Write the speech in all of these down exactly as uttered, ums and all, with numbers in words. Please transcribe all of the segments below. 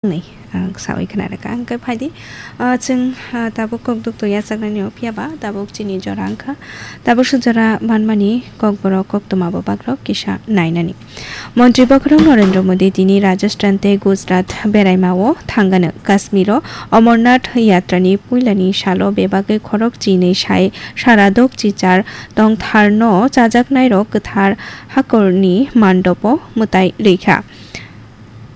Nai, ang sawi khna rwkha. Ang khe phaidi, ah, chwng, ah, tabuk kok duk to yachaknani o phiya ba, tabuk chini jora wngkha. Tabuk se jora manmani kokborok koktwma bo bagrok kisa nainani. Montri bokhorok Narendra Modi tini Rajasthan tei Gujarat beraima o thangano. Kashmir o Amarnath yatrani puilani salo bebagwi khorok chinwi sai sara dok chichar tongtharno chajaknairok kwthar hakorni mandopo mwtai rwikha.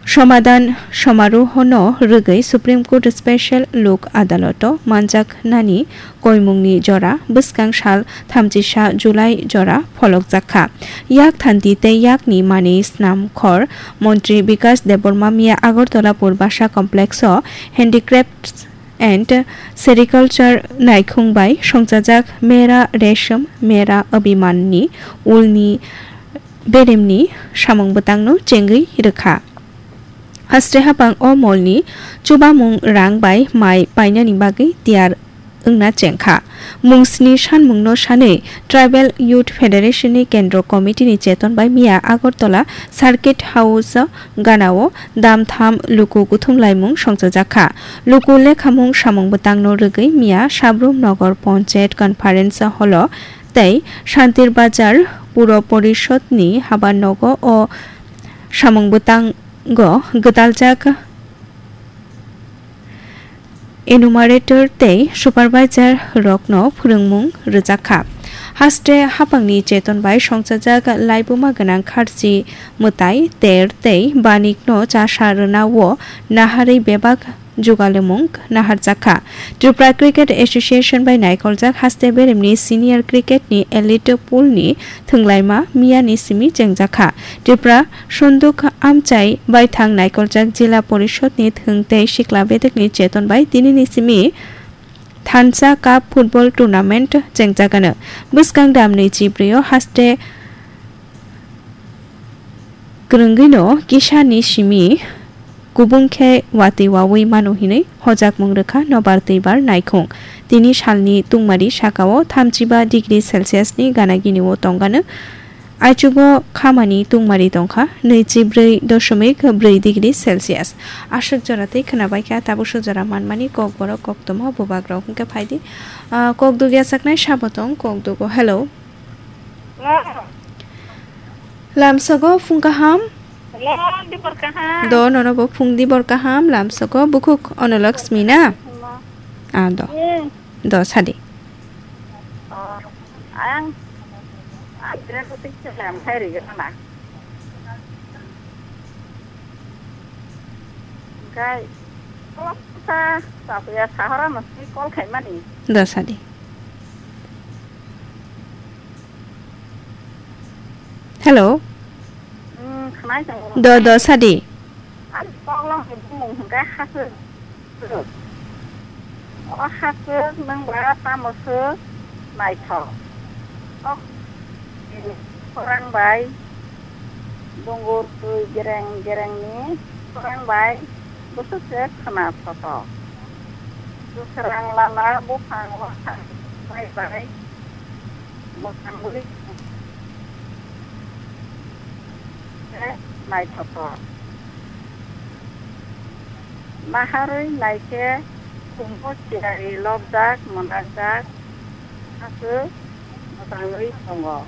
Somadhan somarohono rwgwi Supreme Court Special Lok Adaloto manjaknani koimungni jora bwskang sal thamchisa July jora pholokjakha. Yak thanti tei yakni manwi snam khor Montri Bikas Debbarma miya Agartala Purbasa Complex o Handicrafts and Sericulture naikhung bai songchajak Mera Resham Mera Abhiman ni ulni beremni samung bwtangno chengwi rwkha. Haste hapang o molni chubamung rang bai mai painani bagwi tiyar wngna chengkha. Mungsni sanmungno sanwi Tribal Youth Federation ni Kendro Committee ni cheton bai miya Agartala Circuit House ganao damtham luku kuthum laimung songchajakha. Luku lekhamung samung bwtangno rwgwi miya Sabrum Nagar Panchayat Conference Hall o tei Shantir Bazar Puro Porishod ni habar nogo o samung bwtango gwdaljak enumerator tei supervisor rokno phwrwngmung rwjakha. Haste hapangni cheton bai songchajak laibuma gwnang kharchi mwtai ter tei banikno chasa rwna o naharwi bebak jugalimung naharjakha. Tripura Cricket Association bai naikoljak haste beremni senior cricket ni elite pool ni thwnglaima miyani simi chengjakha. Tripura Sunduk amchai baithang naikoljak Jila Porishod ni thwng tei sikla bedekni cheton bai tinini simi Thansa Cup Football Tournament chengjagano. Bwskang damni chibrwi o haste kwrwngwino kisani simi kubung khe watwi wawi mano hinwi hojakmung rwkha nobar twibar naikhung. Tini salni tungmari sakao thamchiba degree Celsius ni gana gini o tongano. Aichugo khamani tungmari tongkha nwichibrwi doshomik brwi degree Celsius. Aswk jora tei khwnabaikha tabuk suk jora manmani kokborok koktwma bubagrok hwnkhe phaidi, ah, kok dugya saknai sabo tong kok dugo. Hello. Hello. Lamsogo phung kaham. Hello, dibor kaham. Do nono bo phung dibor kaham lamsogo bukhuk Onolakshmi na? Hello. Ah, do. Hmm. Do sadi. Oh, ang, ang kira kutik selam hai ri gana. Gai, kok sa, sa ya sahara mesti call khai mani. Do sadi. Hello. Hmm, khnai tong. Do, do sadi. Ang kok long bumung hingga hasu. O haswk nwng ba tamo swk naithok? O khorang bai dungur twi gereng gerengni khorang bai bwswk se khwna thotok. Bwswrang lala buphang wathang bai bai mwkhang bwlwi se naithothok. Naharwi naikhe khumbo chiyari lobjak mwnakjak aswk mwchangwi tongo.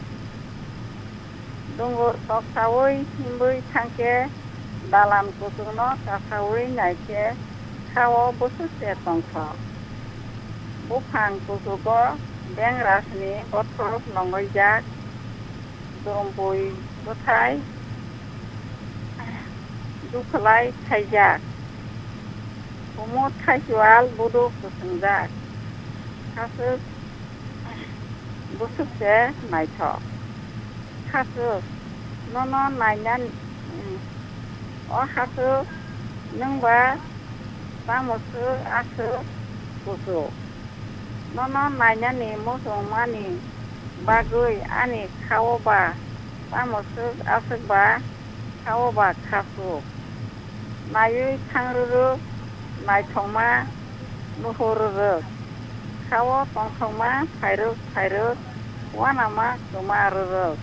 Dungur toksaui himbui thangkhe dalam kuchukno kasaui naikhe khao bwswk se tongthok. Buphang kuchugo bengrasni bothop longoijak, dumpui bwthai dukhlai khaijak, kumut thaichual buduk kwswngjak, khaswk bwswk se naithok. Khaswk, nono nainani, o khaswk, nwng ba tamo swk aswk kuchuk? Nono nainani muchungmani bagwi ani khao ba tamo swk aswk ba khao ba khaswk? Naiwi thang rwrwk, naithokma nuhur rwrwk, khao tongthokma phairwk phairwk, uanama kwma rwrwk,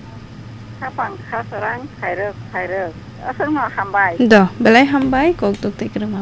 khapang khaswrang phairwk phairwk. Aswkno hambai. Do, belai hambai, kok tuk tei kwrwngma.